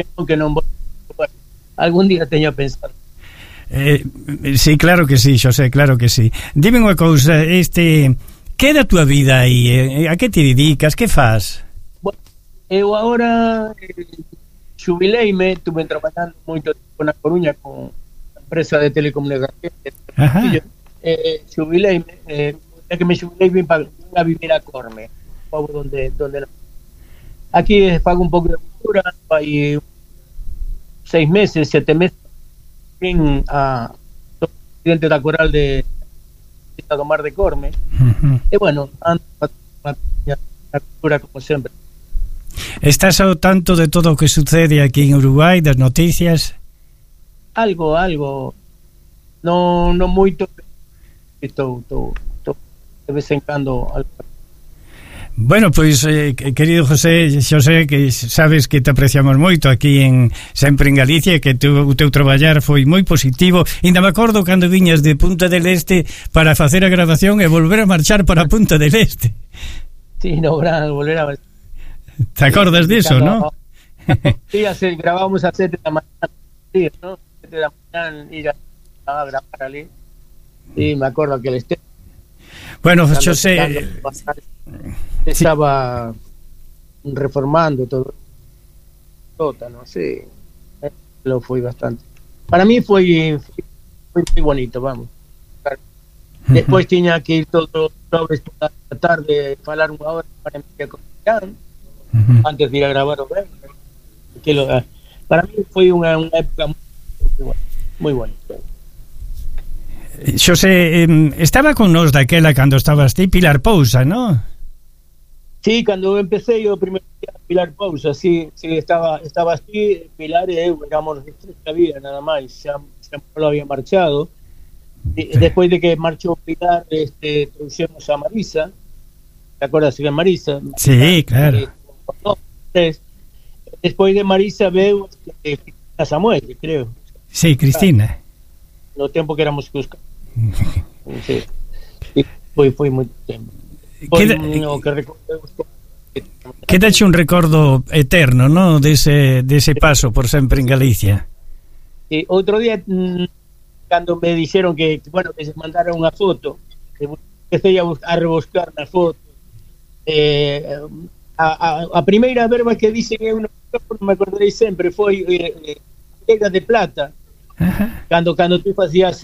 que non vou, bueno, algún día teño a pensar. Sí, claro que sí, Xosé, claro que sí. Dime unha cousa, que é da túa vida aí? A que te dedicas? Que faz? Bueno, eu agora xubileime, estuve traballando moito tempo na Coruña con a empresa de telecomunicaciones. Xubileime, é que me xubilei vim a vivir a Corme, pobo donde aquí fago un pouco de cultura, hai 6 meses, 7 meses vim a presidente da coral de do Mar de Corme. E bueno, ando a cultura como sempre. Estás ao tanto de todo o que sucede aquí en Uruguai, das noticias? Algo, non moito, estou de vez en cando algo. Bueno, pois, querido Xosé, que sabes que te apreciamos moito aquí sempre en Galicia, que o teu traballar foi moi positivo. Ainda me acordo cando viñas de Punta del Este para facer a grabación e volver a marchar para Punta del Este. Sí, no, volver a... Te acordas diso, ¿no? Sí, grabamos a 7 da mañana, sí, ¿no? 7 da mañana, ir a grabar ali. Sí, me acordo que el esté. Bueno, Xosé... Estaba reformando todo ¿no? Sí, lo fue bastante. Para mí fue muy bonito, vamos. Después tenía que ir todo sobre toda la tarde, falar unha hora para mí antes de ir a grabar o para mí fue una época muy bonita. Xosé, estaba con nos daquela cando estabas ti Pilar Pousa, ¿no? Sí, cando empecé yo primeiro Pilar Pousa, sí, estaba así, Pilar e eu éramos de tres que había, nada máis, xa non había marchado. Despois de que marchou Pilar, trouxemos a Marisa, te acordas de Marisa? Sí, claro. Despois de Marisa veu a Samuel, creo. Sí, Cristina. No tempo que éramos Cusca. Sí. Foi moito tempo. Quedache un recordo eterno, ¿no? Dese paso por sempre en Galicia. E outro día cando me dixeron que bueno, que se mandara unha foto, empecé a rebuscar na foto. A primeira verba que dixen eu non me acordarei sempre foi Vieira de Plata. Cando tú facías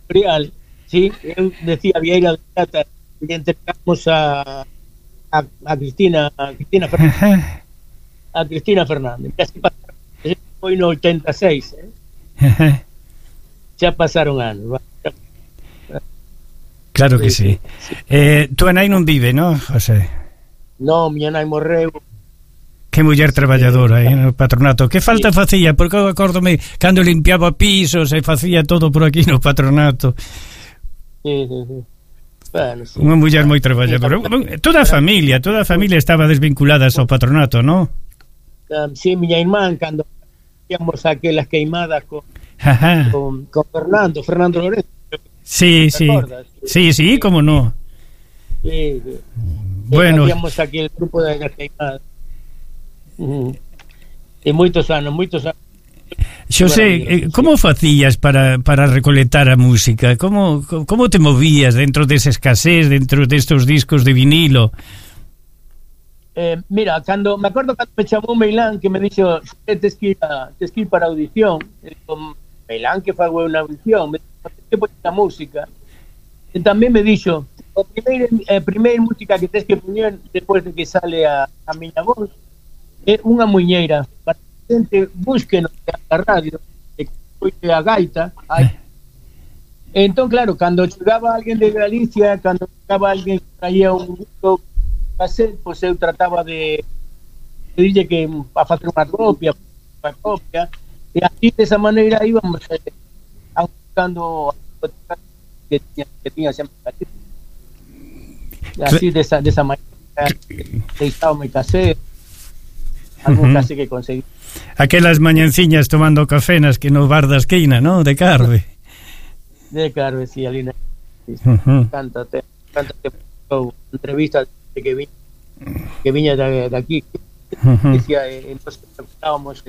real, sí, eu decía Vieira de Plata y entregamos a Cristina Fernández. A Cristina Fernández. Foi no 86, xa pasaron anos. Claro que sí. Tu nai non vive, ¿no, José? Non, miña nai morreu. Que muller traballadora no patronato. Que falta facía? Porque eu acórdome cando limpiaba pisos e facía todo por aquí no patronato. Sí. Bueno, sí. Unha muller moi traballadora. Toda a familia estaba desvinculada ao patronato, ¿no? Sí, miña irmán cando íamos aquelas queimadas con Fernando Lorenzo. Sí, como no. Sí. Bueno, hacíamos aquí el grupo de las queimadas. E moitos anos. Xosé, como facías para recolectar a música? Como te movías dentro desa escasez, dentro destos discos de vinilo? Mira, me acordo cando me chamou Meilán, que me dixo tes que ir para audición. Meilán, que fago unha audición, me dixo que poñer a música. E tamén me dixo a primeira música que tes que poñer despois de que sale a miña voz é unha muñeira para que a xente busque a radio e que a gaita. Entón, claro, cando chegaba alguén de Galicia, cando chegaba alguén que traía un disco cassette, pois eu trataba de dille que a facer unha copia e así desa maneira íbamos buscando que tiña sempre así desa maneira deixábame cassette algún case que conseguí. Aquelas mañanciñas tomando café no bar da esquina, ¿no? De Carve. De Carve, sí, ali cántate entrevistas que viña de aquí. Decía, entonces estábamos